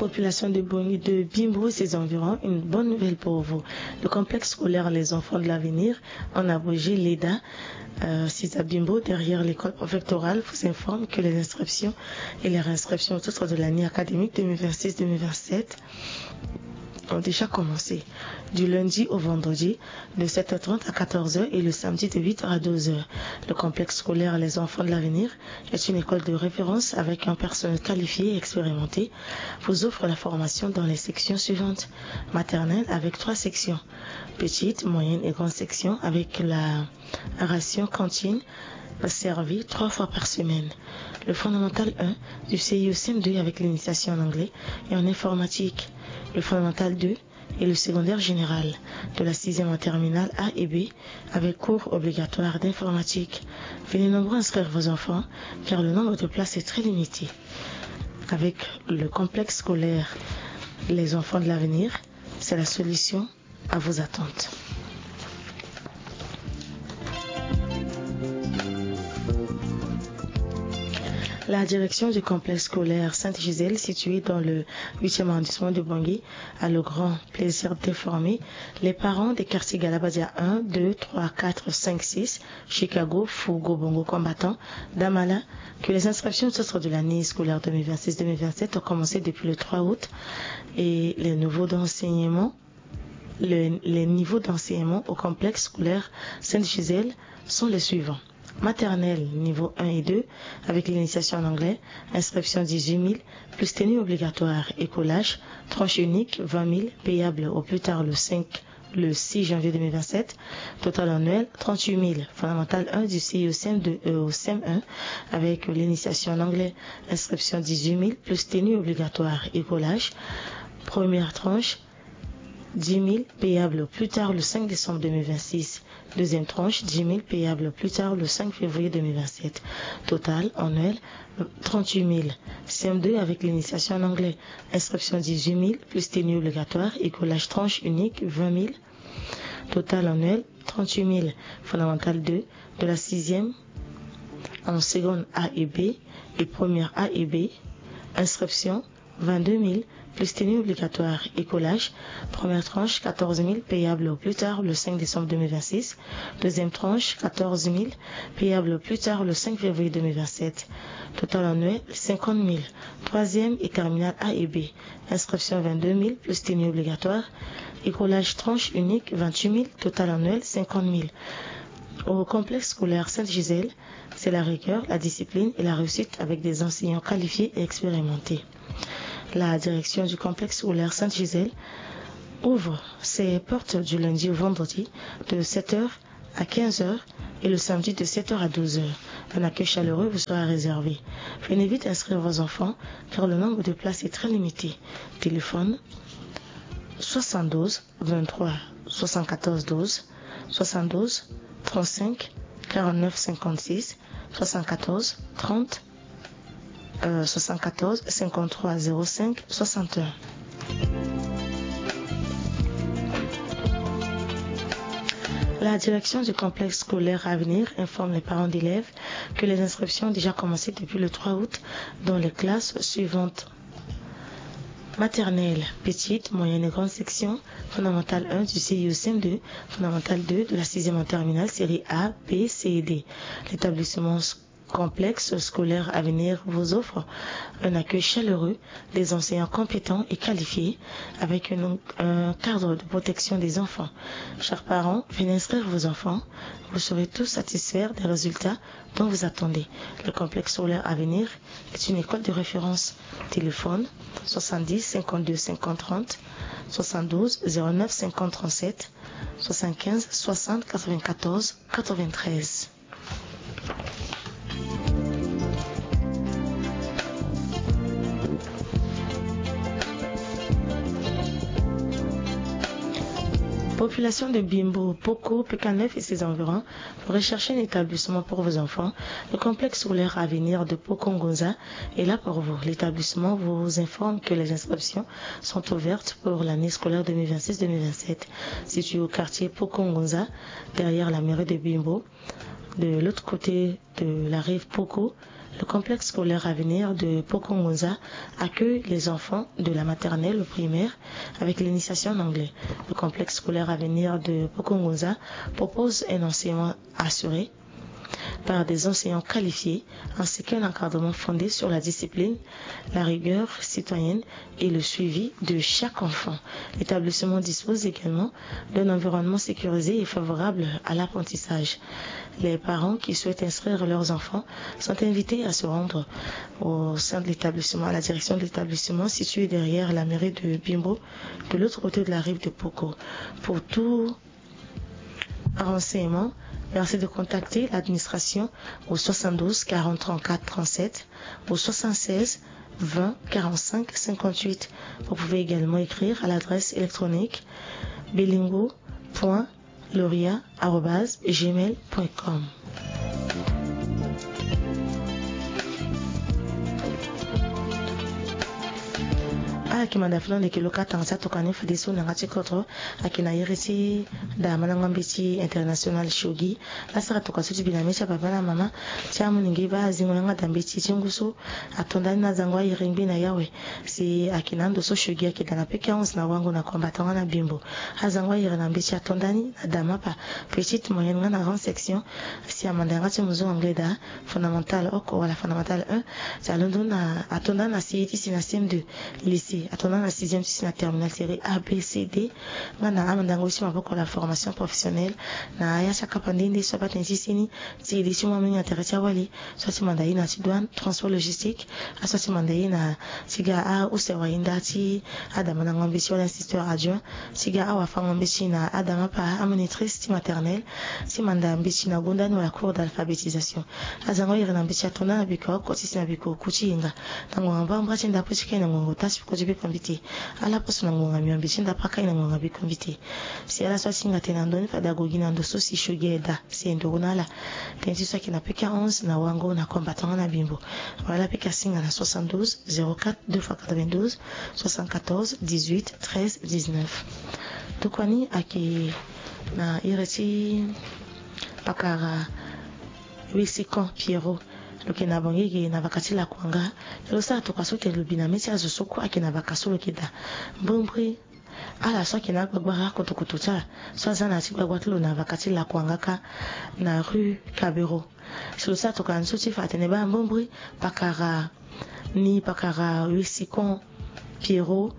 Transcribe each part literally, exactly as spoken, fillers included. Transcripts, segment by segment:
Population de Boni, de Bimbo et ses environs, une bonne nouvelle pour vous. Le complexe scolaire Les Enfants de l'Avenir, en abrégé l'EDA, euh, site à Bimbo, derrière l'école préfectorale, vous informe que les inscriptions et les réinscriptions au titre de l'année académique deux mille vingt-six deux mille vingt-sept ont déjà commencé. Du lundi au vendredi, de sept heures trente à quatorze heures et le samedi de huit heures à douze heures. Le complexe scolaire Les Enfants de l'Avenir est une école de référence avec un personnel qualifié et expérimenté, vous offre la formation dans les sections suivantes. Maternelle avec trois sections, petite, moyenne et grande section avec la ration cantine servie trois fois par semaine. Le fondamental un du C I au C M deux avec l'initiation en anglais et en informatique. Le fondamental deux et le secondaire général, de la sixième en terminale A et B, avec cours obligatoires d'informatique. Venez nombreux inscrire vos enfants, car le nombre de places est très limité. Avec le complexe scolaire Les Enfants de l'Avenir, c'est la solution à vos attentes. La direction du complexe scolaire Sainte-Gisèle, situé dans le huitième arrondissement de Bangui, a le grand plaisir d'informer les parents des quartiers Galabadia un, deux, trois, quatre, cinq, six, Chicago, Fougo, Bongo Combattant, Damala, que les inscriptions au titre de l'année scolaire deux mille vingt-six deux mille vingt-sept ont commencé depuis le trois août et les nouveaux d'enseignement, le- les niveaux d'enseignement au complexe scolaire Sainte-Gisèle sont les suivants. Maternelle, niveau un et deux, avec l'initiation en anglais, inscription dix-huit mille, plus tenue obligatoire et collage, tranche unique, vingt mille, payable au plus tard le cinq, le six janvier deux mille vingt-sept, total annuel, trente-huit mille, fondamental un du C I au C M deux, euh, au C M un, avec l'initiation en anglais, inscription dix-huit mille, plus tenue obligatoire et collage, première tranche, dix mille, payable au plus tard le cinq décembre deux mille vingt-six. Deuxième tranche, dix mille, payable au plus tard le cinq février deux mille vingt-sept. Total annuel, trente-huit mille. C M deux avec l'initiation en anglais. Inscription dix-huit mille, plus tenue obligatoire et collage tranche unique vingt mille. Total annuel, trente-huit mille. Fondamental deux, de la sixième en seconde A et B et première A et B. Inscription vingt-deux mille, plus tenue obligatoire et collage. Première tranche, quatorze mille, payable au plus tard le cinq décembre deux mille vingt-six. Deuxième tranche, quatorze mille, payable au plus tard le cinq février deux mille vingt-sept. Total annuel, cinquante mille. Troisième et terminale A et B. Inscription vingt-deux mille, plus tenue obligatoire. Et collage tranche unique, vingt-huit mille. Total annuel, cinquante mille. Au complexe scolaire Sainte-Gisèle, c'est la rigueur, la discipline et la réussite avec des enseignants qualifiés et expérimentés. La direction du complexe scolaire Sainte-Gisèle ouvre ses portes du lundi au vendredi de sept heures à quinze heures et le samedi de sept heures à douze heures. Un accueil chaleureux vous sera réservé. Venez vite inscrire vos enfants car le nombre de places est très limité. Téléphone soixante-douze vingt-trois soixante-quatorze douze, soixante-douze trente-cinq quarante-neuf cinquante-six, soixante-quatorze trente, euh, soixante-quatorze cinquante-trois zéro cinq soixante et un. La direction du complexe scolaire Avenir informe les parents d'élèves que les inscriptions ont déjà commencé depuis le trois août dans les classes suivantes. Maternelle, petite, moyenne et grande section, fondamentale un du C I au C M deux, fondamentale deux de la sixième en terminale, série A, B, C et D. L'établissement s- complexe scolaire Avenir vous offre un accueil chaleureux, des enseignants compétents et qualifiés, avec une- un cadre de protection des enfants. Chers parents, venez inscrire vos enfants. Vous serez tous satisfaits des résultats dont vous attendez. Le complexe scolaire Avenir est une école de référence. Téléphone soixante-dix cinquante-deux cinquante trente, soixante-douze zéro neuf cinquante trente-sept, soixante-quinze soixante quatre-vingt-quatorze quatre-vingt-treize. Population de Bimbo, Poko, P K neuf et ses environs, vous recherchez un établissement pour vos enfants. Le complexe scolaire Avenir de Poko Ngunza est là pour vous. L'établissement vous informe que les inscriptions sont ouvertes pour l'année scolaire deux mille vingt-six deux mille vingt-sept. Situé au quartier Poko Ngunza, derrière la mairie de Bimbo, de l'autre côté de la rive Poko, Le complexe scolaire Avenir de Pokongunza accueille les enfants de la maternelle au primaire avec l'initiation en anglais. Le complexe scolaire Avenir de Pokongunza propose un enseignement assuré par des enseignants qualifiés, ainsi qu'un encadrement fondé sur la discipline, la rigueur citoyenne et le suivi de chaque enfant. L'établissement dispose également d'un environnement sécurisé et favorable à l'apprentissage. Les parents qui souhaitent inscrire leurs enfants sont invités à se rendre au sein de l'établissement, à la direction de l'établissement situé derrière la mairie de Bimbo, de l'autre côté de la rive de Poko. Pour tout renseignement, merci de contacter l'administration au soixante-douze quarante trente-quatre trente-sept, au soixante-seize vingt quarante-cinq cinquante-huit. Vous pouvez également écrire à l'adresse électronique bilingo point loria arobase gmail point com. Ala yeke manda fini ande yeke lo kâ tanga ti atokua ni fadeso na yanga ti kodro. Ayeke na iri ti damandango ambeti international shogi. Asara tokua so ti bi na mê ti apapa na amama ti amolenge baa azingo na yanga da mbeti ti ngu so ato ndani na azango ayere ngbi na yawe. Si ayeke na ando so shogi ayeke da na peke onze na wango na combattant nga na bimbo. Azango ayere na mbeti ato ndani na damapa, petite, moyenne nga na grande section. Si amanda yanga ti muzu anglais da, fondamentale oko wala fondamentale un. Si alondo na ato ndani na C E ti si na C M deux, lycée ato ndani na sixième ti si na terminale série A B C D. Nga na amandango ti maboko la formation professionnelle. Na aya ti akapa nde nde so abaa tënë ti sini ti e li ti mu amolenge na tere ti awali. So ati manda ye na ti douane, transport logistique. Aso ati manda ye na ti ga ause wahinda ti adamandango mbeti wala instituteur adjoint. Ti ga awafango mbeti na adamapa, amonitrice ti maternelle. Ti manda mbeti na gonda ni wala cours d'alphabétisation. Azango ayere na mbeti ato ndani na biko oko ti si na biko oku ti hinga. Na ngonga mbamba ti ndapo ti kai na ngonga ota ti peko ti biko mbi te. Ala poso na ngonga miombe ti ndapo akai na ngonga biko mbi te. Si ala so asinga tene na ndö ni fade ague gi na ndo so si shogi ayeda si e nduru na ala. Tënë ti so ayeke na peke onze na wango na combattant nga na bimbo. Wala ala peke asinga na soixante-douze zéro quatre deux fois quatre-vingt-douze soixante-quatorze dix-huit treize dix-neuf. Tokua ni ayeke na iri ti pakara Wisikan Pierrot. Lo yeke na Bangui, ayeke na vaka ti Lakuanga. Lo sara tokua so tene lo bi na mê ti azo so kue ayeke na vaka so lo yeke daa. Mbrimbri ala so ayeke na agbagbara akutukutu ti ala so aza na ya ti gbagba ti lo na vaka ti Lakuanga kâ, na rue Kabero. Si lo sara tokua ni so ti fa atene baa mbrimbri pakara ni, pakara Wisikan Pierrot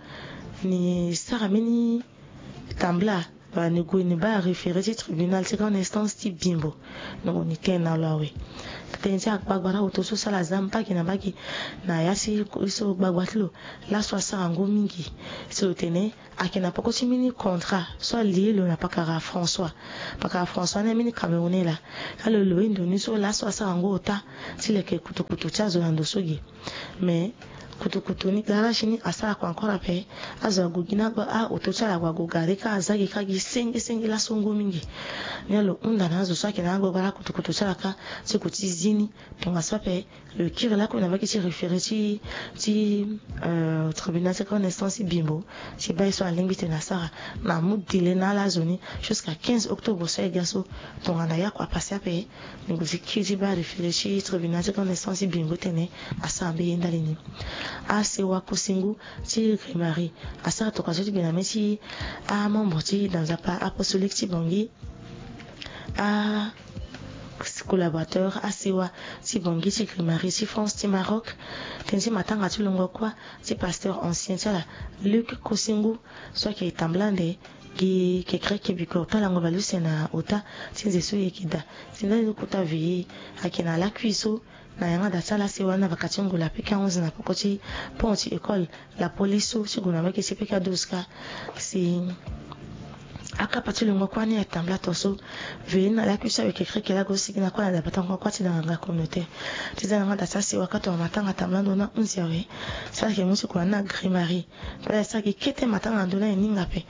ni sara mbeni tambula, wala ni gue ni baa référé ti tribunal ti grande instance ti Bimbo. Ni gue ni tene na lo awe. Tënë ti agbagbara oto so so ala za mbage na mbage na ya ti ye so gbagba ti lo. Laso asara ngu mingi. Si lo tene ayeke na peko ti mbeni contrat so alie lo na pakara François. Pakara François ni ambeni Camerounais laa. Kâ lo lo ye ndo ni so laso asara ngu ota ti leke kutukutu ti azo na ndo so ge. Mais kutukutu ni, garage ni asara kua encore ape. Azo ague gi na agba, a, oto ti ala ague ague gare kâ, aza gi kâ gi senge senge laso ngu mingi. Ni lo hunda na azo so ayeke na agbagbara kutukutu ti ala kâ, ti gue ti zi ni. Tongaso ape lo kiri lakue na mbage ti référé ti, ti, euh, tribunal ti grande instance ti Bimbo. Ti baa ye so alingbi tene asara, na amu délai na ala azo ni jusqu'à quinze octobre so aye ga so. Tongana ye akua apase ape, ni gue ti kiri ti baa référé ti tribunal ti grande instance ti Bimbo tene asara mbeni ye ndali ni. Asewa Kosingu ti Grimari asara tokua so ti gbe na mê ti amembre ti da nzapa apostolique ti Bangui, a collaborateur asewa ti Bangui ti Grimari ti France ti Maroc. Tënë ti matanga ti longo kuâ ti pasteur ancien ti ala, Luc Kosingu, so ayeke tambula ande gi kekereke biko ota lango bale use na ota ti nze so e yeke daa. Si ndali ni kota veillée ayeke na lakui so na yanga da ti ala asewa ni na vaka ti ngu la peke onze na peko ti pont ti école, la police so ti gue na mbage ti peke adoska. Si akapa ti longo kuâ ni atambula tongaso. Veillée ni na lakui so awe kekereke laa ague sigi na kuâ na dabatango kuâ ti da nganga communautaire. Ti za na yanga da ti asewa kâ tongana matanga atambula ndo ni ahunzi awe. Si ala yeke mu ti gue na ni na Grimari. Pe ala sara gi kete matanga na ndo ni aye ni hinga ape.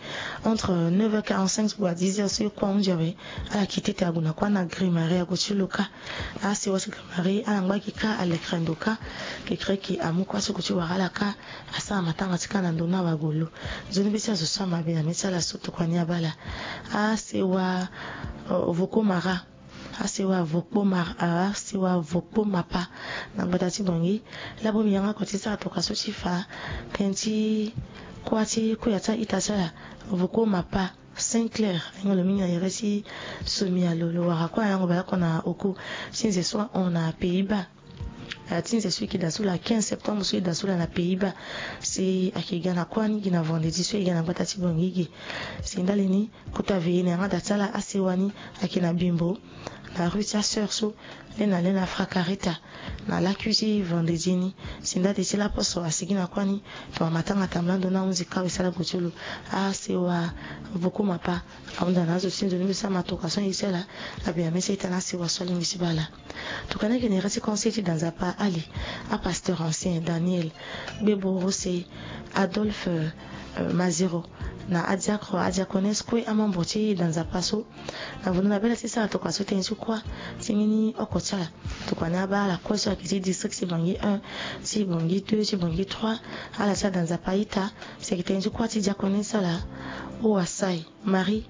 Entre neuf heures quarante-cinq ti gue na dix heures so e kue ahunzi awe. Ala kite tene ague na kuâ na Grimari ague ti lo kâ. Asewa ti Grimari ala ngba gi kâ, alekere ndo kâ. Kekereke amu kuâ ti gue ti wara ala kâ. Asara matanga ti kâ na ndo ni awe ague lo. Nzoni mbeti azo so amabe na mê ti ala so tokua ni abaa ala. Asewa, euh, Voko Mara. Asewa Vokpo Mar, asewa Vokpo Mapa na gbata ti Bangui. Laa bongbi yanga oko ti sara tokua so ti fa tënë ti kuâ ti kuya ti a-ita ti ala, Vokpo Mapa Saint Clair, ayeke lo mingi na yere ti Somialo. Lo wara kuâ na lango baleoko na oku ti nze so ahon na Pays-Bas. Ti nze so eke daa so la quinze septembre so e daa so la na Pays-Bas. Si ayeke ga na kuâ ni gi na vendredi so e ga na gbata ti Bangui ge. Si ndali ni kota veillée na yanga da ti ala asewa ni ayeke na Bimbo na rue ti asœur so le na le na Fracarita na lakui ti vendredi ni. Si ndali ti laposo asigi na kuâ ni, tongana matanga tambula ndo ni ahunzi kâ awe sara gue ti lo. Asewa Vokpo Mapa ahunda na azo ti nzoni mbi sara ma tokua so ye ti ala. Abi na mê ti a-ita na asewa so alingbi ti baa ala. Tokua ni ayeke na yere ti conseil ti da Nzapa ali, apasteur ancien Daniel Gbebo Rose, Adolphe, euh, Mazero, na adiacre, adiaconesse kue amembre ti da Nzapa so. Na vundu na bê ala ti sara tokua so tënë ti kuâ ti mbeni oko ti ala. Tokua ni abaa ala kue so ayeke ti district ti Bangui un, ti Bangui deux, ti Bangui trois. Ala ti ada Nzapa a-ita. Si ayeke tënë ti kuâ ti diaconesse ti ala, Owasai Marie.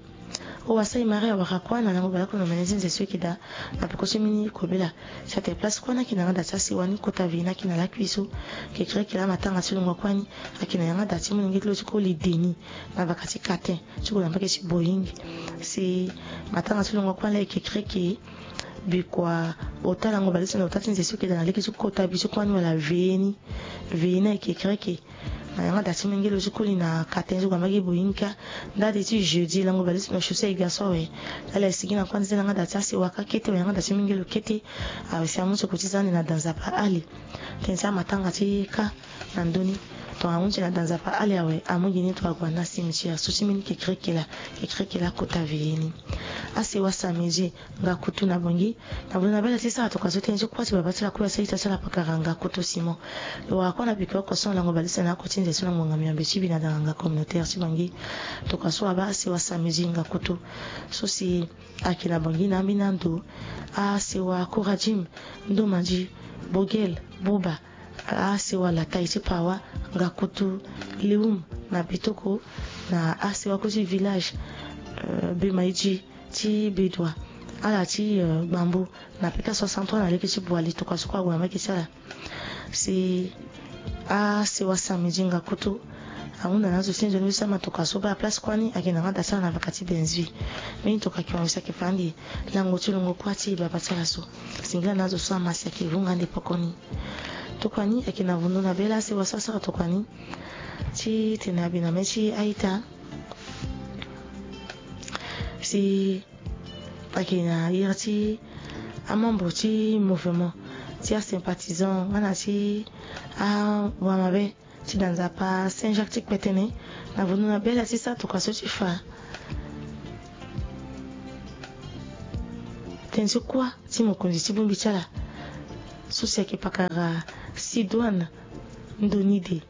Owasai Marie awara kuâ na lango baleoko na omene ti nze so eke daa na peko ti mbeni kobela. Si atene place kuâ ni ayeke na yanga da ti asewa ni, kota veillée ni ayeke na lakui so. Kekereke laa matanga ti longo kuâ ni ayeke na yanga da ti molenge ti lo ti koli Denis na vaka ti katin ti gue na mbage ti Boeing. Si matanga ti longo kuâ ni laa e kekereke, bikua ota lango baleuse na ota ti nze so eke daa na lege ti kota bi ti kuâ ni wala veillée ni. Veillée ni ayeke kekereke na yanga da ti molenge ti lo ti koli na katin ti gue na mbage Boeing kâ. Ndali ti jeudi lango baleuse na chaussée e ga so awe. Ala e sigi na kuâ ni ti yanga da ti asewa kâ kete wala yanga da ti molenge ti lo kete. Awe si amu ti oko ti za ande na da Nzapa ali. Tënë ti amatanga ti kâ na ndö ni. Tongana ahunzi na da Nzapa ali awe, amu gi ni tongana ague na cimetière so ti mbeni kekereke laa, kekereke laa kota veillée ni. Asewa samedi Ngakutu na Bangui. Na vundu na bê ala ti sara tokua so tënë ti kuâ ti babâ ti ala kue asara ita ti ala pakara Ngakutu Simon. Lo wara kuâ na bikua oko so na lango baleuse na oko ti nze so na ngonga miombe ti bi na da nganga communautaire ti Bangui. Tokua so abaa asewa samedi Ngakutu so si ayeke na Bangui na ambeni ando. Asewa Kourajim, Ndomandi, Bogel, Boba, asewa Latai ti Pawa, Ngakutu, Leum na Betoko, na asewa kue ti village, euh, Bemaidji ti Bedoua, ala ti, euh, Gbambo na peta soixante-trois na lege ti Boali, tokua so kue ague na mbage ti ala. Si asewa samedi Ngakutu ahunda na azo ti nzoni mbi sara ma tokua so baa place kuâ ni ayeke na yanga da ti ala na vaka ti Benzui. Mbeni tokua ayeke hon si ayeke fa ande lango ti longo kuâ ti babâ ti ala so. Singila na azo so ama si ayeke vunga ande poko ni. Tokua ni ayeke na vundu na bê laa asewa so asara tokua ni ti tene abi na mê ti a-ita. Si ayeke na iri ti amembre ti mouvement ti asympathisant nga na ti awamabe ti da Nzapa Saint Jacques ti Kpetene. Na vundu na bê ala ti sara tokua so ti fa tënë ti kuâ ti mokonzi ti bongbi ti ala so si ayeke pakara Sidoine Ndonide.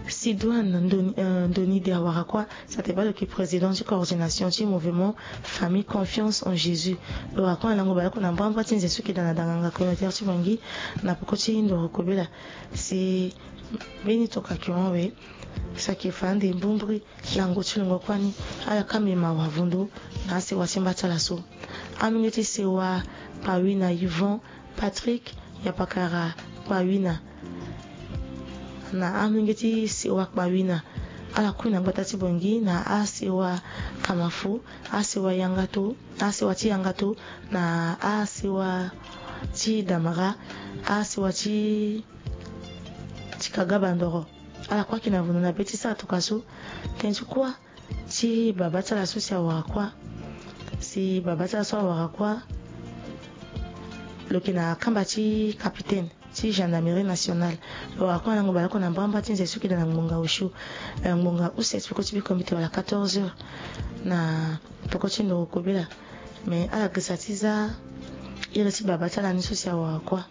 Sidoine Ndoni, euh, Ndonide awara kuâ, si atene baa lo yeke président ti coordination ti mouvement Famille Confiance en Jésus. Lo wara kuâ na lango baleoko na mbrambra ti nze so eke daa na da nganga communautaire ti Bangui na peko ti ndoro kobela. Si mbeni tokua ayeke hon awe, si ayeke fa ande mbrimbri lango ti longo kuâ ni. Ala kâ mbi mawa vundu na asewa ti mba ti ala so. Amolenge ti sewa Pawina Yvon Patrick Yapakara Kpawina. Na amolenge ti sewa Kpawina, ala kue na gbata ti Bangui, na asewa Kamafu, asewa Yangato, asewa ti Yangato, na asewa ti Damara, asewa ti, ti Kagaba Ndoro. Ala kue ayeke na vundu na bê ti sara tokua so. Tënë ti kuâ ti babâ ti ala so si awara kuâ. Si babâ ti ala so awara kuâ, lo yeke na kamba ti capitaine ti gendarmerie nationale. Lo wara kuâ na lango baleoko na mbrambra ti nze so eke daa na ngbonga osio, eh, ngbonga use ti peko ti bikomite wala quatorze heures na peko ti ndoro kobela. Me ala girisa ti za iri ti babâ ti ala ni so si awara kuâ.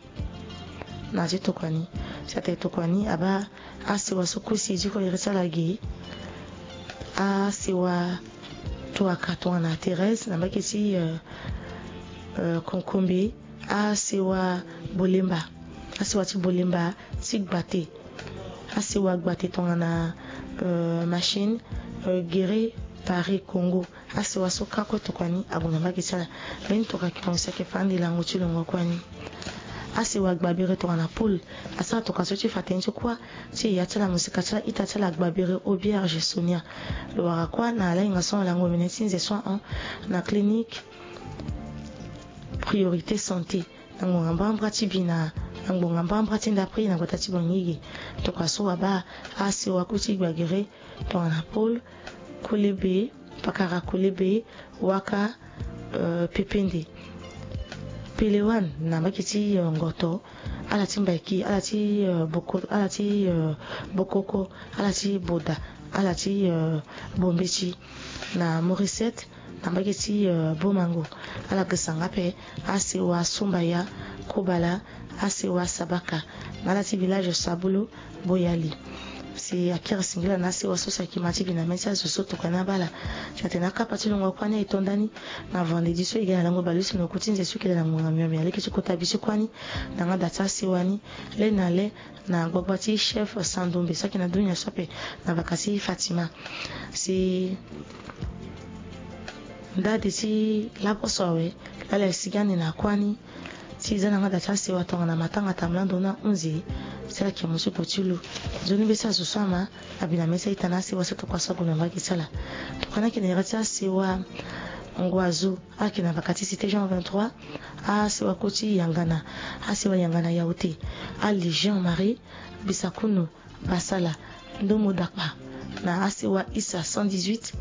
Na ti tokua ni, si atene tokua ni abaa asewa so kue si e diko iri ti ala ge. Asewa Tuaka tongana Thérèse na mbage ti, euh, euh, Konkombe. Asewa Bolemba, asewa ti Bolemba ti Gbate. Asewa Gbate tongana, euh, Machine, euh, Guéret. Ari Congo. Asewa so kâ kue tokua ni ague na mbage ti ala. Mbeni tokua ayeke mo si ayeke fa ande lango ti longo kue ni. Asewa gbabere tongana pôle asara tokua so ti fa tënë ti kuâ ti ya ti ala, mosika ti ala, ita ti ala gbabere Auberge Sonia. Lo wara kuâ na lahinga so alango mene ti nze so ahon na clinique Priorité Santé na ngbonga mbambra ti bi na, na ngbonga mbambra ti ndapre na gbata ti Bangui ge. Tokua so abaa asewa kue ti gbagere tongana pôle, kole be, pakara kole be, waka, euh, pepende. Pelewan na mbage ti, euh, ngoto, ala ti mbaiki, ala ti, euh, boko, ala ti, euh, bokoko, ala ti boda, ala ti, euh, bombeti. Na Morisset na mbage ti, euh, bomango, ala gesa nga ape asewa Sumbaya, Kobala, asewa Sabaka, na ala ti village Sabulu, Boyali. Si akiri singila na asewa so si ayeke ma ti bi na mê ti azo so tokua ni abaa ala. Si atene akapa ti longo kuâ ni aye to ndani na vendredi so e ga na lango baleuse na oku ti nze so e yeke daa na ngbonga miomio aleke ti kota bi ti kuâ ni na yanga da ti asewa ni le na le na gbagba ti chef Sandombe so ayeke na dunia so ape na vaka ti Fatima. Si ndade ti laposo awe laa ala sigi ande na kuâ ni ti za na yanga da ti asewa tongana matanga tamlando na hunzi ti ala yeke mu ti gue ti lu. Nzoni mbeti azo so ama abi na mê ti a-ita na asewa so tokua so ague na mbage ti ala. Tokua ni ayeke na iri ti asewa Ngwazu, ala yeke na vaka ti cité Jean vingt-trois, asewa kue ti Yangana, asewa Yangana Yaoté, ali Jean Marie Bisakunu Basala, Ndomo Dakpa, na asewa Issa cent dix-huit,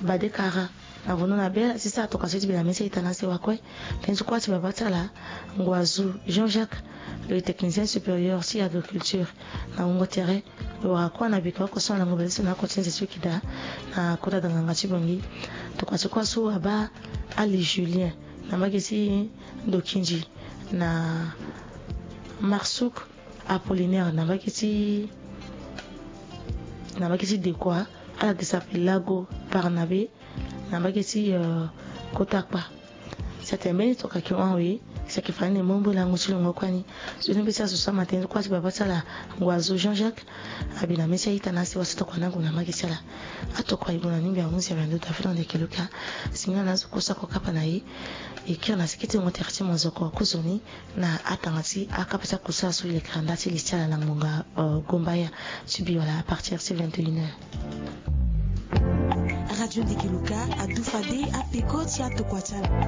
Badekara, na Vono na Bel, si sa tokua so ti bi na mê ti a-ita na asewa kue. Tënë ti kuâ ti baba ti ala, Ngwazu Jean-Jacques, le technicien supérieur ti agriculture na wungo tere. Lo wara kuâ na bika oko so na lango baleuse na oko ti nze so e yeke daa na kota da nganga ti Bangui. Tokua ti kuâ so abaa ali Julien na mbage ti Ndokindji, na Marsuk Apollinaire na mbage ti, na mbage ti Dekua, ala gesa ape Lago Barnabe na mbage ti, euh, kota kpa. Si atene mbeni tokua ayeke hon awe, si ayeke fa ni na e mu mbeni lango ti longo kuâ ni. Nzoni mbeti azo so ama tënë ti kuâ ti baba ti ala Ngwazu Jean-Jacques abi na mê ti a-ita na asewa so tokua ni ague na mbage ti ala. Atokua e gue na ningbi ahunzi awe na ndo David Ndeke Luka. Singila na azo kue so ako kapa na e. E kiri na siki ti wungo tere ti mozoko kozoni na atanga ti akapa ti akusala so e lekere nda ti li ti ala na ngbonga, euh, gombaya ti bi wala à partir ti vingt et une heures. Radio Ndeke Luka adu fade apeko ti atokua ti ala.